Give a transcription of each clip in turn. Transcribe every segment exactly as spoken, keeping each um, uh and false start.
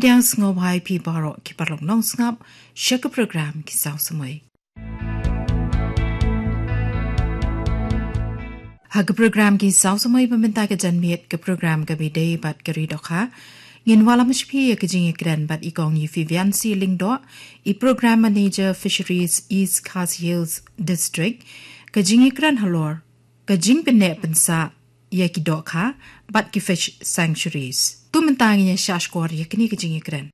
Pdiang sngewbha ïa phi baroh ki paralok nongsngap sha ka program Ki Saw Samoi. Ha ka program Ki Saw Samoi ba mynta ka janmiet, ka program kaba ïadei bad ka ri dohkha, ngin wallam sha phi ïa ka jingïakren bad i Kong Euphrasia Lyngdoh, i Program Manager Fisheries East Khasi Hills District, ka jingïakren halor ka jingpynneh pynsah ïa ki dohkha bad ki fish sanctuaries. To mynta ngin ïa shah shkor ïa kane ka jingïakren.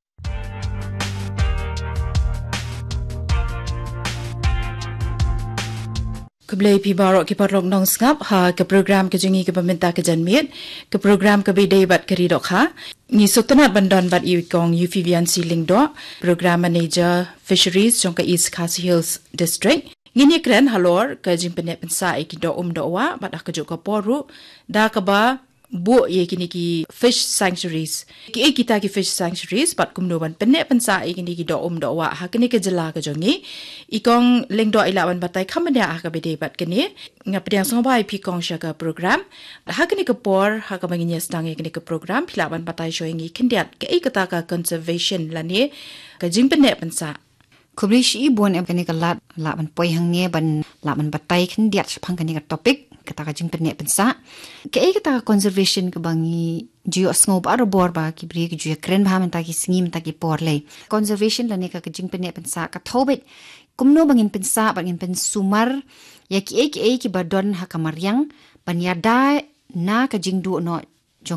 Khublei phi baroh ki paralok nongsngap ha ka program ka jong ngi kaba mynta ka janmiet, ka program kaba ïadei bad ka ri dohkha. Ngi sngewtynnat ban don bad i Kong Euphrasia Lyngdoh, Program Manager Fisheries jong ka East Khasi Hills District. Ngin ïakren halor ka jingpynneh pynsah ïa ki doh um doh wah bad ha kajuh ka por ruh da kaba buh ïa kine ki fish sanctuaries. Kiei kita ki fish sanctuaries bad kumno ban pynneh pynsah ïa kine ki doh um doh wah ha kane ka jylla ka jong ngi? I Kong Lyngdoh i lah ban batai kham bniah ha kaba ïadei bad kane. Nga pdiang sngewbha ïa phi Kong sha ka program. Ha kane ka por, ha kaba ngin ïa sdang ïa kane ka program, phi lah ban batai shuwa ïa ngi khyndiat kaei kata ka conservation lane ka jingpynneh pynsah? Khublei shibun ïa kane ka lad, lah ban poi hangne ban lah ban batai khyndiat shaphang kane ka topic, kata ka jingpynneh pynsah. Kaei kata ka conservation kaba ngi ju ïohsngew barabor ba ki briew ki ju ïakren bha mynta ki sngi mynta ki por lei. Conservation lane ka, ka jingpynneh pynsah ka thoh beit kumno ba ngin pynsah bad ngin pynsumar ïa kiei kiei kiba don ha ka mariang ban ïada na ka jingduh noh